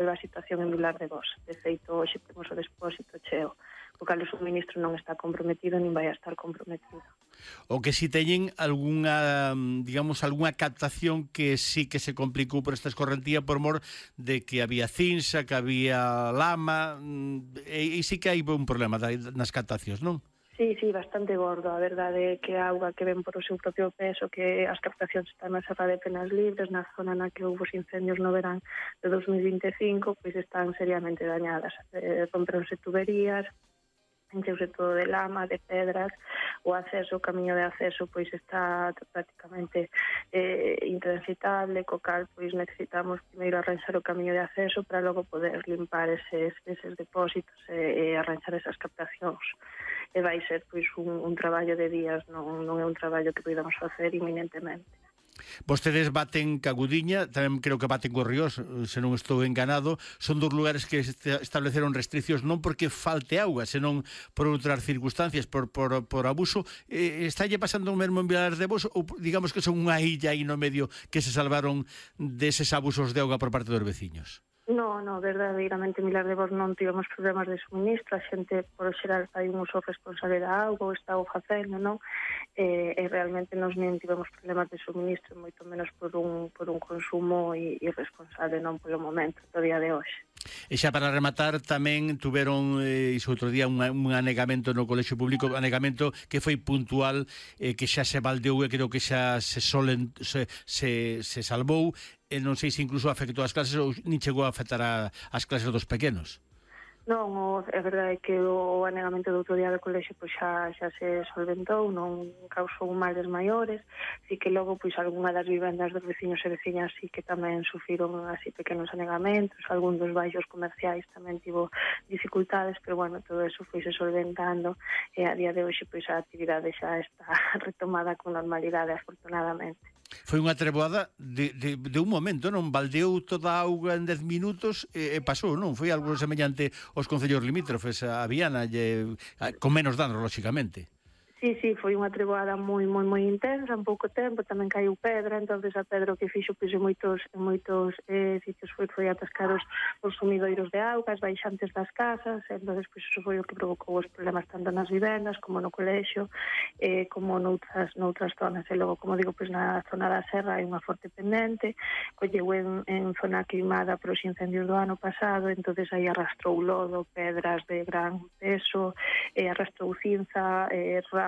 a situación en Vilar de Bos. De feito, hoxe temos o depósito cheo, o cal o suministro non está comprometido nin vai a estar comprometido. O que si teñen algunha, digamos, algunha captación que sí que se complicou por esta escorrentía por mor de que había cinza, que había lama, e sí que hai un problema nas captacións, non? Sí, bastante gordo. A verdade é que a auga que ven por o seu propio peso, que as captacións están na Serra de Penas Libres, na zona na que houve os incendios no verán de 2025, pois están seriamente dañadas. Rompronse tuberías, encheuse todo de lama, de pedras, o camiño de acceso pois está prácticamente intransitable, co cal pois necesitamos primeiro arranxar o camiño de acceso para logo poder limpar eses depósitos e arranxar esas captacións. E vai ser pois un traballo de días, non é un traballo que podamos facer inminentemente. Vostedes baten Cagudiña, tamén creo que baten Corriós, se non estou enganado. Son dos lugares que estableceron restriccións non porque falte auga, senón por outras circunstancias, por abuso. Estálle pasando o mesmo en Vilar de Bos, ou digamos que son unha illa aí no medio que se salvaron deses abusos de auga por parte dos veciños? No, verdadeiramente en Vilar de Bos non tivemos problemas de suministro, a xente por o xeral fai un uso responsable da auga, o está o facendo, non? E realmente nos non tivemos problemas de suministro, moito menos por un consumo irresponsable, non polo momento, do día de hoxe. E xa para rematar, tamén tuveron iso outro día un anegamento no colexio público, anegamento que foi puntual, que xa se baldeou e creo que xa se salvou, e non sei se incluso afectou as clases ou nin chegou a afectar as clases dos pequenos. Non, é verdade que o anegamento do outro día do colexio pois xa se solventou, non causou males maiores, así que logo pois algunha das vivendas dos veciños e veciñas sí que tamén sufriron así pequenos anegamentos, algún dos baixos comerciais tamén tivo dificultades, pero bueno, todo eso foi se solventando e a día de hoxe pois a actividade xa está retomada con normalidade, afortunadamente. Foi unha treboada de un momento, non? Baldeou toda a auga en 10 minutos e pasou, non? Foi algo semellante aos concellos limítrofes, a Viana, con menos danos, lóxicamente. Sí, foi unha treboada moi intensa, en pouco tempo, tamén caiu pedra, entonces a pedra que fixo pois en moitos sitios foi atascar os sumidoiros de auga, as baixantes das casas, entonces pois iso foi o que provocou os problemas tanto nas vivendas como no colexio, como noutras zonas, e logo, como digo, pois na zona da serra hai unha forte pendente, colleu en zona queimada por os incendios do ano pasado, entonces aí arrastrou lodo, pedras de gran peso, arrastrou cinza,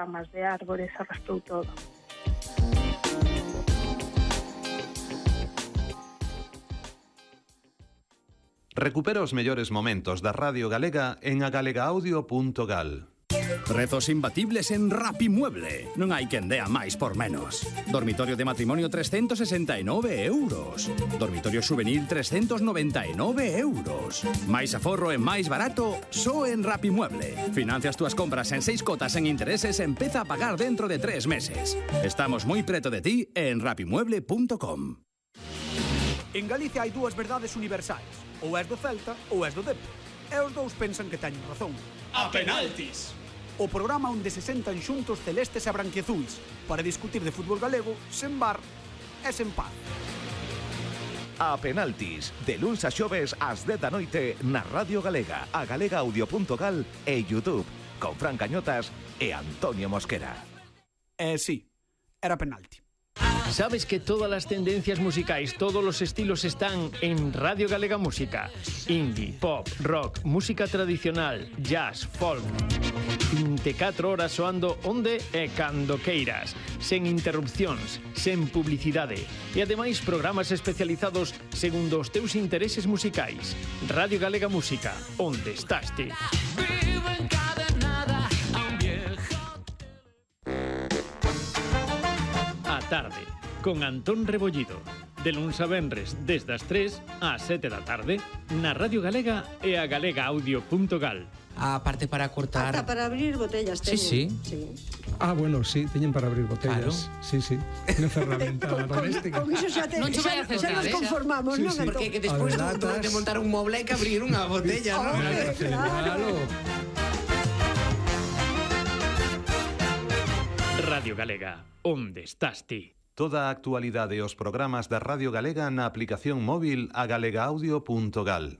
ramas de árbores, arrastrou todo. Recupera os mellores momentos da Radio Galega en agalegaudio.gal. Prezos imbatibles en Rapimueble. Non hai quen dea máis por menos. Dormitorio de matrimonio 369 euros. Dormitorio juvenil 399 euros. Máis aforro e máis barato só en Rapimueble. Financia as túas compras en 6 cotas en intereses e empeza a pagar dentro de 3 meses. Estamos moi preto de ti en rapimueble.com. En Galicia hai dúas verdades universais. Ou és do Celta ou és do Depor. E os dous pensan que teñen razón. A penaltis! O programa onde se sentan xuntos celestes e branquiazuis para discutir de fútbol galego sen bar e sen paz. A penaltis, de luns a xoves ás 10 da noite na Radio Galega, a galegaudio.gal e YouTube, con Fran Cañotas e Antonio Mosquera. Sí, era penalti. ¿Sabes que todas las tendencias musicais, todos los estilos están en Radio Galega Música? Indie, pop, rock, música tradicional, jazz, folk. 24 horas soando onde e cando queiras, sen interrupcións, sen publicidade e ademais programas especializados segundo os teus intereses musicais. Radio Galega Música, onde estás ti? A tarde, con Antón Rebollido. De luns a venres, desde as 3 ás 7 da tarde, na Radio Galega e a galegaudio.gal. A parte para cortar... Ata para abrir botellas teñen. Sí. Bueno, sí, teñen para abrir botellas. Claro. Sí. Unha ferramenta doméstica. Con iso xa Non che vai a xa nos conformamos, non? Porque que despois de montar un moble hai que abrir unha botella, non? Claro. Radio Galega, onde estás ti? Toda a actualidade e os programas da Radio Galega na aplicación móvil a galegaudio.gal.